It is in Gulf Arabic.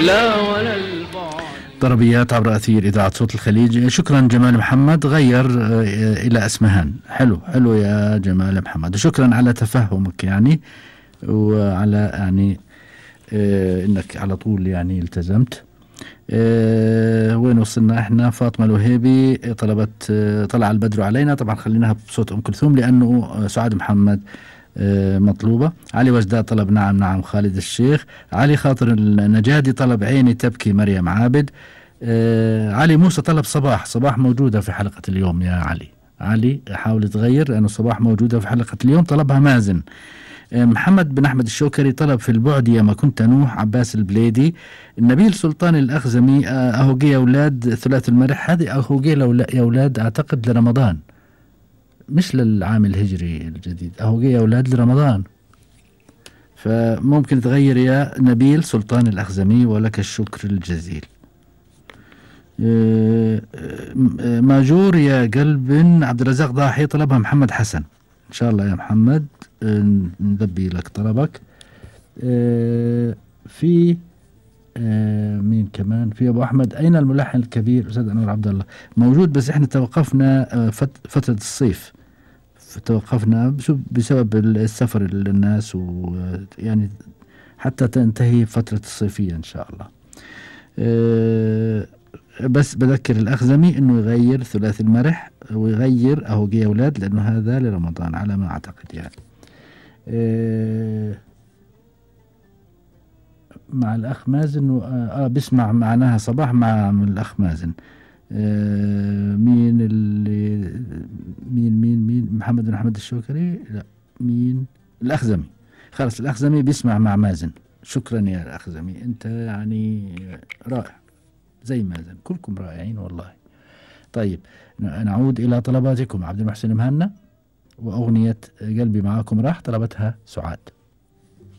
لا ولا البعد. طربيات عبر أثير إذاعة صوت الخليج. شكرا جمال محمد، غير إلى أسمهان. حلو حلو يا جمال محمد، وشكرا على تفهمك يعني، وعلى يعني إنك على طول يعني التزمت. وين وصلنا احنا؟ فاطمة الوهيبي طلبت طلع البدر علينا، طبعا خليناها بصوت أم كلثوم لأنه سعاد محمد مطلوبة. علي وجداد طلب نعم نعم خالد الشيخ. علي خاطر النجادي طلب عيني تبكي مريم عابد. علي موسى طلب صباح. صباح موجودة في حلقة اليوم يا علي. علي حاول تغير لأنه صباح موجودة في حلقة اليوم. طلبها مازن. محمد بن أحمد الشوكري طلب في البعد يا ما كنت نوح. عباس البليدي. النبيل سلطان الأخزمي أهوجي يا أولاد ثلاث المرح. هذه أهوجي يا أولاد أعتقد لرمضان مش للعام الهجري الجديد. أهوجي يا أولاد لرمضان، فممكن تغير يا نبيل سلطان الأخزمي، ولك الشكر الجزيل. ماجور يا قلب عبد الرزاق ضاحي طلبها محمد حسن. إن شاء الله يا محمد نذبي لك طلبك. في مين كمان؟ في أبو أحمد. أين الملحن الكبير أستاذ أنور عبد الله؟ موجود بس إحنا توقفنا فترة الصيف، توقفنا بسبب السفر للناس، ويعني حتى تنتهي فترة الصيفية إن شاء الله. بس بذكر الأخزمي إنه يغير ثلاث المرح ويغير أهوجي يا أولاد لأنه هذا لرمضان على ما أعتقد يعني. مع الأخ مازن بيسمع معناها صباح مع الأخ مازن. مين اللي مين محمد بن أحمد الشوكري؟ لا، مين؟ الأخزمي. خلاص الأخزمي بيسمع مع مازن. شكرا يا الأخزمي، أنت يعني رائع زي مازن، كلكم رائعين والله. طيب نعود إلى طلباتكم. عبد المحسن مهنا وأغنية قلبي معاكم راح طلبتها سعاد.